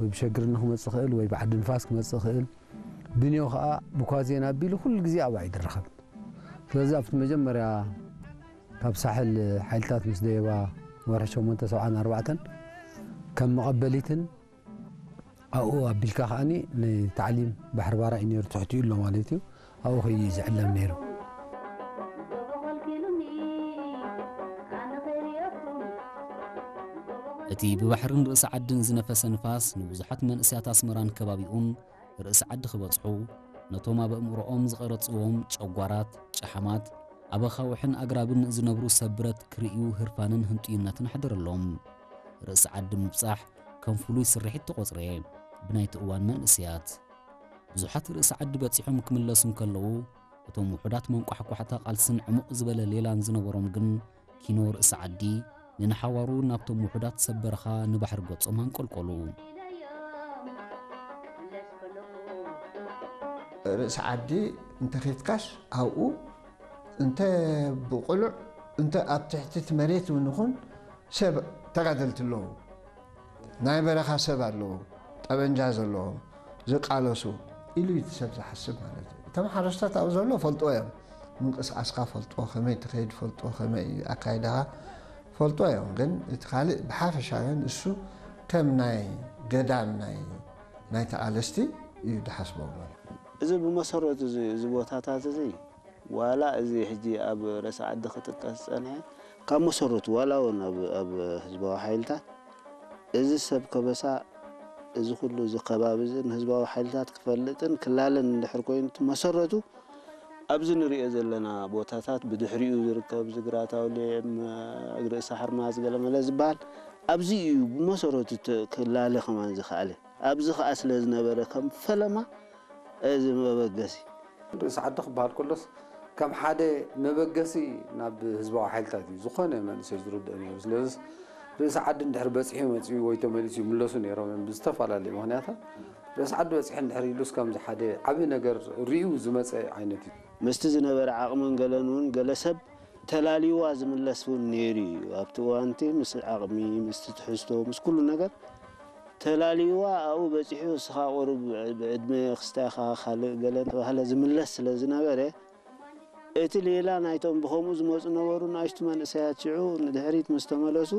ወይ ብሸግርኒ ክመጽእ ይኽእል፣ ወይ ብዓዲ ንፋስ ክመጽእ ይኽእል። ብንዮ ኸኣ ብኳዜን ኣቢሉ ኩሉ ግዜ ኣብኣ እዩ ዝረኸብ። ስለዚ ኣብቲ መጀመርያ ካብ ሳሕል ሓይልታት ምስ ደየባ ወርሒ ሸሞንተ ሰብዓን ኣርባዕተን ከም መቐበሊትን ኣብኡ ኣቢልካ ከኣኒ ንታዕሊም ባሕሪ ባራ እዩ ነይሩ ትሕቲኡ ኣሎ ማለት እዩ። ኣብኡ ከይዩ እዩ ዝዕለም ነይሩ። እቲ ብባሕርን ርእሲ ዓድን ዝነፈሰ ንፋስ ንብዙሓት መንእሰያት ኣስመራን ከባቢኡን ርእሲ ዓዲ ክበጽሑ፣ ነቶም ኣብ ኣእምሮኦም ዝቐረጽዎም ጨጓራት፣ ጨሓማት፣ ኣብ ኣኻውሕን ኣግራብን ዝነብሩ ሰብ ብረት ክርእዩ ህርፋንን ህንጡይነትን ኣሕደረሎም። ርእሲ ዓዲ ምብጻሕ ከም ፍሉይ ስርሒት ተቖጽረ ብናይቲ እዋን መንእሰያት። ብዙሓት ርእሲ ዓዲ በጺሖም ክምለሱ እንከለዉ፣ እቶም ውሑዳት መንቋሕቋሕታ ቃልስን ዕሙቕ ዝበለ ሌላን ዝነበሮም ግን ኪኖ ርእሲ ዓዲ ንንሓዋሩ ናብቶም ውሑዳት ሰብ በረኻ ንባሕሪ ገጾም ኣንቆልቆሉ። ርእሲ ዓዲ እንተ ኺድካስ ኣብኡ እንተ ብቕሉዕ እንተ ኣብ ትሕቲ እቲ መሬት እውን ይኹን ሰብ ተጋደልቲ ኣለዉ። ናይ በረኻ ሰብ ኣለዉ፣ ጠበንጃ ዘለዎም ዝቃለሱ ኢሉ እዩ እቲ ሰብ ዝሓስብ ማለት እዩ። እቶም ሓረስቶት ኣብኡ ዘሎ ፈልጥዎ እዮም፣ ምንቅስቃስካ ፈልጥዎ፣ ከመይ ትኸይድ ፈልጥዎ፣ ከመይ እዩ ኣካይዳኻ ፈልጥዎ እዮም። ግን እቲ ካልእ ብሓፈሻ ግን እሱ ከም ናይ ገዳም ናይ ናይ ተቓለስቲ እዩ ዝሓስቦም ማለት እዩ። እዚ ብመሰረቱ እዚ ቦታታት እዚ ዋላ እዚ ሕጂ ኣብ ርእሲ ዓዲ ክጥቀስ ዝጸንሐ ካብ መሰረቱ ዋላ እውን ኣብ ህዝባዊ ሓይልታት እዚ ሰብ ከበሳ እዚ ኩሉ እዚ ከባቢ እዚ ንህዝባዊ ሓይልታት ክፈልጥን ክላለን እንድሕር ኮይኑ እቲ መሰረቱ ኣብዚ ንሪኦ ዘለና ቦታታት ብድሕሪኡ ዝርከብ ዝግራት ኣውሊዕ ም- ርእሲ ሓርማዝ ገለመለ ዝበሃል ኣብዚ እዩ ብመሰረቱ ተ- ክላለ ከማን ዝኸኣለ ኣብዚ ከዓ ስለ ዝነበረ ከም ፈለማ እዚ መበገሲ ርእሲ ዓዲ ክበሃል ከሎስ ከም ሓደ መበገሲ ናብ ህዝባዊ ሓይልታት እዩ ዝኾነ መንእሰይ ዝርድኦ ነይሩ። ስለዚ ርእሲ ዓዲ እንድሕር በፂሑ መፂኡ ወይ ተመሊሱ ይምለሱ ነይሮም እዮም ብዝተፈላለዩ ምክንያታት። ርእሲ ዓዲ በፂሑ እንድሕር ኢሉስ ከምዚ ሓደ ዓብዪ ነገር ርእዩ ዝመፀ ዓይነት እዩ። ምስቲ ዝነበረ ዓቕምን ገለን እውን ገለ ሰብ ተላልይዋ ዝምለስ እውን ነይሩ እዩ። ኣብቲ እዋንቲ ምስ ዓቕሚ፣ ምስቲ ትሕዝቶ፣ ምስ ኩሉ ነገር ተላልይዋ ኣብኡ በፂሑ እስኻ ቁሩብ ብዕድመ ክስታይ ኢኻ ካልእ ገለ እናተባህለ ዝምለስ ስለ ዝነበረ እቲ ሌላ ናይቶም ብኸምኡ ዝመፁ ነበሩ ንኣሽቱ መንእሰያት ሽዑ ንድሕሪት ምስ ተመለሱ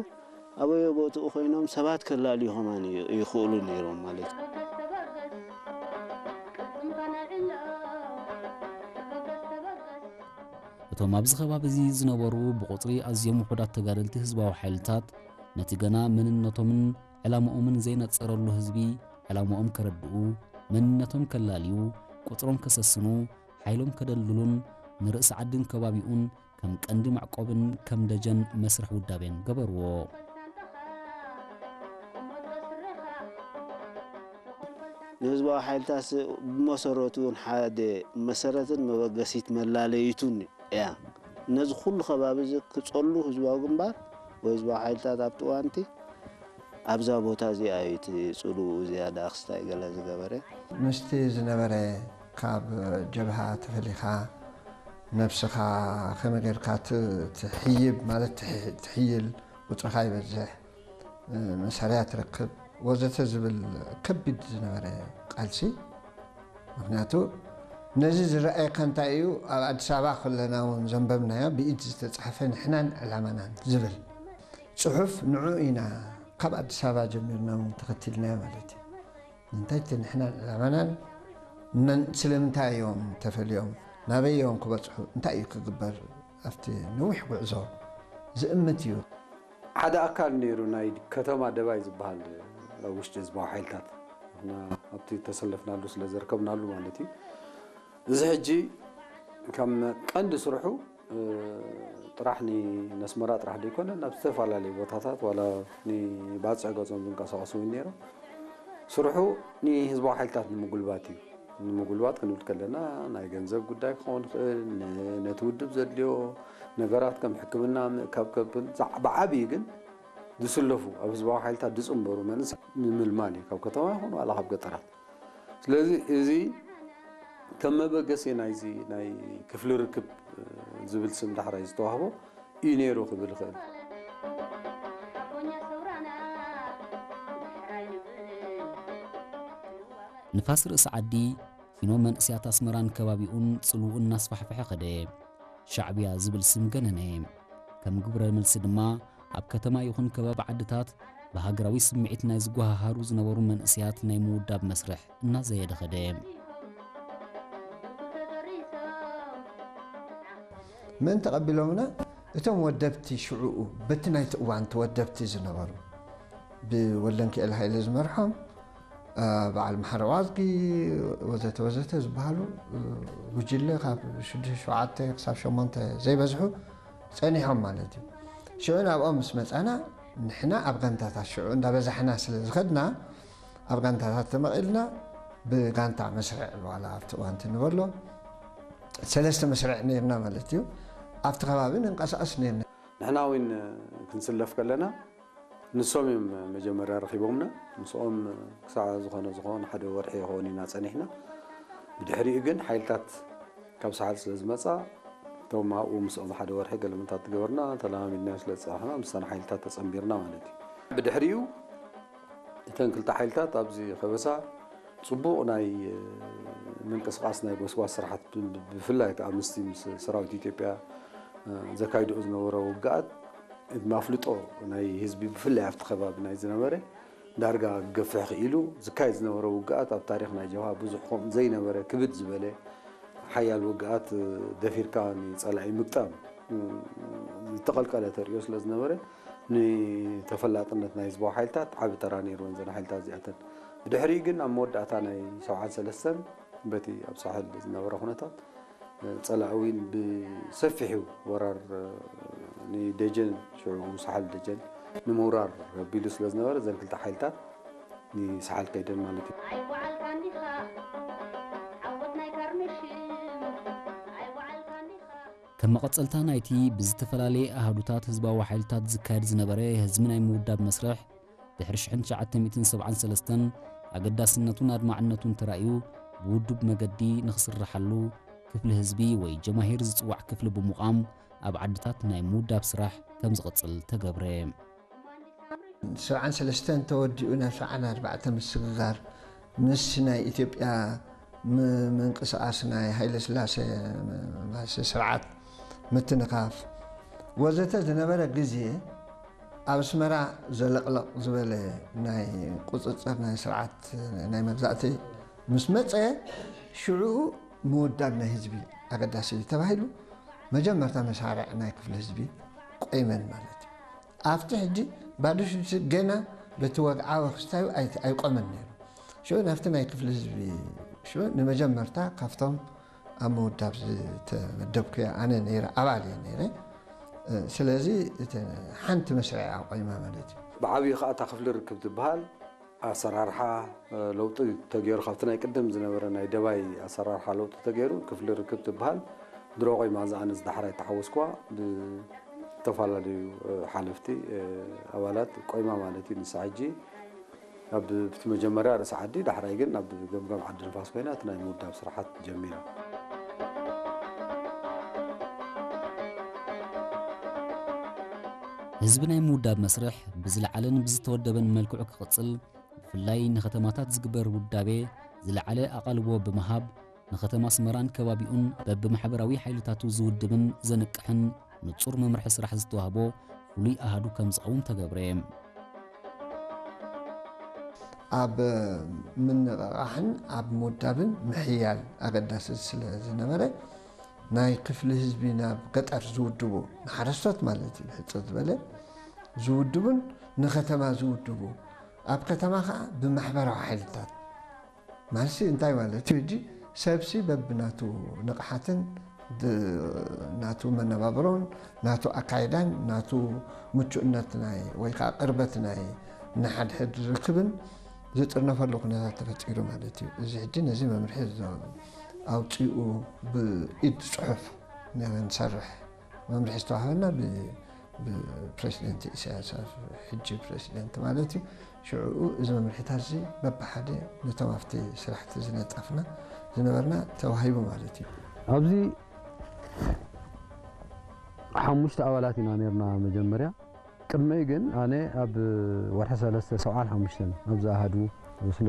ኣበዮ ቦትኡ ኮይኖም ሰባት ከላልዩ ከማን ይኽእሉ ነይሮም ማለት እዩ። እቶም ኣብዚ ከባቢ እዚ ዝነበሩ ብቑጽሪ ኣዝዮም ውሑዳት ተጋደልቲ ህዝባዊ ሓይልታት ነቲ ገና መንነቶምን ዕላምኦምን ዘይነጸረሉ ህዝቢ ዕላምኦም ከረድኡ፣ መንነቶም ከላልዩ፣ ቁጽሮም ከሰስኑ፣ ሓይሎም ከደልድሉን ንርእሲ ዓድን ከባቢኡን ከም ቀንዲ መዕቆብን ከም ደጀን መስርሕ ውዳቤን ገበርዎ። ንህዝባዊ ሓይልታት ብመሰረቱ እውን ሓደ መሰረትን መበገሲት መላለይቱን እያ። ነዚ ኩሉ ከባቢ እዚ ክጸሉ ህዝባዊ ግንባር ወይ ህዝባዊ ሓይልታት ኣብቲ እዋንቲ ኣብዛ ቦታ እዚኣ እዩ እቲ ጽሉኡ ዝያዳ ክስታይ ገለ ዝገበረ። ምስቲ ዝነበረ ካብ ጀብሃ ተፈሊኻ ነብስኻ ከመይ ጌርካ ት- ትሕይብ ማለት ትሕ- ትሕይል ቁጽርኻ ይበዝሕ መሳርያ ትረክብ ወዘተ ዝብል ከቢድ ዝነበረ ቃልሲ ምክንያቱ ነዚ ዝረኣየካ እንታይ እዩ ኣብ ኣዲስ ኣበባ ከለና እውን ዘንበብናዮ ብኢድ ዝተፃሕፈ ንሕናን ዕላማናን ዝብል ፅሑፍ ንዑ ኢና ካብ ኣዲስ ኣበባ ጀሚርና እውን ተኸቲልናዮ ማለት እዩ ንምንታይ እቲ ንሕናን ዕላማናን መን ስለምንታይ እዮም ተፈልዮም ናበይ እዮም ክበፅሑ እንታይ እዩ ክግበር ኣብቲ ነዊሕ ጉዕዞ ዝእምት እዩ ሓደ ኣካል ነይሩ ናይ ከተማ ደባይ ዝበሃል ኣብ ውሽጢ ህዝባዊ ሓይልታት ንሕና ኣብቲ ተሰለፍናሉ ስለ ዘርከብናሉ ማለት እዩ እዚ ሕጂ ከም ቀንዲ ስርሑ ጥራሕ ንነስመራ ጥራሕ ዘይኮነ ናብ ዝተፈላለዩ ቦታታት ዋላ ንባፅዕ ገፆም ዝንቀሳቀሱ እውን ነይሮም ስርሑ ንህዝባዊ ሓይልታት ንምጉልባት እዩ ንምጉልባት ክንብል ከለና ናይ ገንዘብ ጉዳይ ክኸውን ይኽእል ነቲ ውድብ ዘድልዮ ነገራት ከም ሕክምና ምእካብ ከብን ብዓብዩ ግን ዝስለፉ ኣብ ህዝባዊ ሓይልታት ዝፅንበሩ መንእሰያት ንምልማል እዩ ካብ ከተማ ይኹን ዋላ ካብ ገጠራት ስለዚ እዚ ከም መበገሲ ናይዚ ናይ ክፍሊ ርክብ ዝብል ስም ዳሕራይ ዝተዋህቦ እዩ ነይሩ ክብል ይኽእል። ንፋስ ርእሲ ዓዲ ፊኖ መንእስያት ኣስመራን ከባቢኡን ጽልውኡ እናስፋሕፈሐ ኸደ። ሻዕብያ ዝብል ስም ገነነ። ከም ግብረ መልሲ ድማ ኣብ ከተማ ይኹን ከባቢ ዓድታት ብሃገራዊ ስምዒት ናይ ዝጓሃሃሩ ዝነበሩ መንእስያት ናይ ምውዳብ መስርሕ እናዘየደ ኸደ። መን ተቐቢሎምና? እቶም ወደብቲ ሽዕኡ በቲ ናይቲ እዋን ተወደብቲ ዝነበሩ ብወልደንኪኤል ሃይለ ዝመርሖም በዓል መሓሪ ዋዝጊ ወዘተ ወዘተ ዝበሃሉ ጉጅለ ካብ ሽዱሽተ ሸውዓተ ክሳብ ሸሞንተ ዘይበዝሑ ጸኒሖም ማለት እዩ። ሽዑ ናብኦም ምስ መጻና ንሕና ኣብ ጋንታታት ሽዑ እንዳበዛሕና ስለ ዝኸድና ኣብ ጋንታታት ተመቒልና ብጋንታ መስርዕ ዋላ ኣብቲ እዋንቲ ንበሎ ሰለስተ መስርዕ ነርና ማለት እዩ። ኣብቲ ከባቢ ንንቀሳቐስ ነርና። ንሕና እውን ክንስለፍ ከለና ንሶም እዮም መጀመርያ ረኺቦምና። ምስኦም ክሳዕ ዝኾነ ዝኾነ ሓደ ወርሒ ይኸውን ኢና ጸኒሕና። ብድሕሪኡ ግን ሓይልታት ካብ ሳሕል ስለ ዝመጻ እቶም ኣብኡ ምስኦም ሓደ ወርሒ ገለመንታት ትገበርና ተለማሚድና ስለ ዝጸናሕና ምስታን ሓይልታት ተጸንቢርና ማለት እዩ። ብድሕሪኡ እተን ክልተ ሓይልታት ኣብዚ ከበሳ ጽቡቕ ናይ ምንቅስቃስ ናይ ጎስጓስ ስራሓት ብፍላይ ከዓ ምስቲ ምስ ሰራዊት ኢትዮጵያ ዘካይድኦ ዝነበረ ውግኣት ማፍልጦ ናይ ህዝቢ ብፍላይ ኣብቲ ከባቢ ናይ ዝነበረ ዳርጋ ክገፍሕ ክኢሉ ዝካየድ ዝነበረ ውግኣት ኣብ ታሪኽ ናይ ጀብሃ ብዙሕ ከምኡ ዘይነበረ ክብድ ዝበለ ሓያል ውግኣት ደፊርካ ንጸላኢ ምግጣም ዝተቐልቀለ ተርእዮ ስለ ዝነበረ ንተፈላጥነት ናይ ህዝባዊ ሓይልታት ዓቢ ተራ ነይርወን ዘን ሓይልታት እዚኣተን። ብድሕሪኡ ግን ኣብ መወዳእታ ናይ ሰብዓን ሰለስተን በቲ ኣብ ሳሕል ዝነበረ ኩነታት ጸላኢ እውን ብሰፊሑ ወራር ንደጀን ሽዑ ሳሕል ደጀን ንምውራር ኣቢሉ ስለ ዝነበረ እዘን ክልተ ሓይልታት ንሳሕል ከይደን ማለት እዩ። ከም መቐጸልታ ናይቲ ብዝተፈላለየ ኣሃዱታት ህዝባዊ ሓይልታት ዝካየድ ዝነበረ ህዝቢ ናይ ምውዳብ መስርሕ ድሕሪ ሽሕን ትሽዓተ ሚእትን ሰብዓን ሰለስተን ኣገዳስነቱን ኣድማዕነቱን ተራእዩ ብውዱብ መገዲ ንኽስርሓሉ ክፍሊ ህዝቢ ወይ ጀማሂር ዝጽዋዕ ክፍሊ ብምቋም ኣብ ዓድታት ናይ ምውዳብ ስራሕ ከም ዝቕጽል ተገብረ። ሰብዓን ሰለስተን ተወዲኡ ናብ ሰብዓን ኣርባዕተ ምስግጋር ምስ ናይ ኢትዮጵያ ምንቅስቃስ ናይ ሃይለ ስላሴ ስርዓት ምትንኻፍ ወዘተ ዝነበረ ግዜ ኣብ ኣስመራ ዘለቕለቕ ዝበለ ናይ ቁፅፅር ናይ ስርዓት ናይ መግዛእቲ ምስ መፀ ሽዑ ምውዳብ ናይ ህዝቢ ኣገዳሲ እዩ ተባሂሉ መጀመርታ መሳርዕ ናይ ክፍሊ ህዝቢ ቆይመን ማለት እዩ። ኣብቲ ሕጂ ባዶ ሽዱሽተ ገና በቲ ወግዓዊ ክስታዩ ኣይቆመን ነይሩ። ሽዑ ናብቲ ናይ ክፍሊ ህዝቢ ሽዑ ንመጀመርታ ካብቶም ኣብ ምውዳብ ዝተመደብኩ እየ ኣነ ነይረ፣ ኣባል እየ ነይረ። ስለዚ ሓንቲ መስርዕ ኣቆይማ ማለት እዩ። ብዓብዩ ከዓ እታ ክፍሊ ርክብ ትበሃል ኣሰራርሓ ለውጢ ተገይሩ ካብቲ ናይ ቅድም ዝነበረ ናይ ደባይ ኣሰራርሓ ለውጢ ተገይሩ ክፍሊ ርክብ ትበሃል ድሮ ቆይማ እዛ ኣነ ዝዳሕራይ ተሓወስኩዋ ብዝተፈላለዩ ሓለፍቲ ኣባላት ቆይማ ማለት እዩ። ንሳ ሕጂ ኣብ እቲ መጀመርያ ርእሲ ዓዲ ዳሕራይ ግን ኣብ ገምገም ዓዲ ንፋስ ኮይና እቲ ናይ ምውዳብ ስራሓት ጀሚራ። ህዝቢ ናይ ምውዳብ መስርሕ ብዝለዓለን ብዝተወደበን መልክዑ ክቕጽል ብፍላይ ንኸተማታት ዝግበር ውዳቤ ዝለዓለ ኣቓልቦ ብምሃብ ንኸተማ ኣስመራን ከባቢኡን በብማሕበራዊ ሓይልታቱ ዝውድብን ዘንቅሕን ንጹር መምርሒ ስራሕ ዝተዋህቦ ፍሉይ ኣሃዱ ከም ዝኸውን ተገብረ። ኣብ ምንቕቓሕን ኣብ ምውዳብን ምሕያል ኣገዳሲ ስለ ዝነበረ ናይ ክፍሊ ህዝቢ ናብ ገጠር ዝውድቡ ንሓረስቶት ማለት እዩ ሕጽር ዝበለ ዝውድቡን ንኸተማ ዝውድቡ ኣብ ከተማ ከዓ ብማሕበራዊ ሓይልታት ማለትሲ እንታይ ማለት እዩ? ሕጂ ሰብሲ በብናቱ ንቕሓትን ናቱ መነባብሮን ናቱ ኣካይዳን ናቱ ምቹእነት ናይ ወይ ከዓ ቅርበት ናይ ንሓድሕድ ርክብን ዝጥርነፈሉ ኩነታት ተፈጢሩ ማለት እዩ። እዚ ሕጂ ነዚ መምርሒ ኣውፂኡ ብኢድ ፅሑፍ ንሰርሕ መምርሒ ዝተዋህበና ብፕሬዚደንት ኢሳያስ ሕጂ ፕሬዚደንት ማለት እዩ። ሽዕኡ እዚ መምርሒታት እዚ በብሓደ ነቶም ኣብቲ ስራሕቲ ዝነጠፍና ዝነበርና ተዋሂቡ ማለት እዩ። ኣብዚ ሓሙሽተ ኣባላት ኢና ነርና መጀመርያ። ቅድመይ ግን ኣነ ኣብ ወርሒ ሰለስተ ሰብዓን ሓሙሽተን ኣብዚ ኣሃዱ ስለ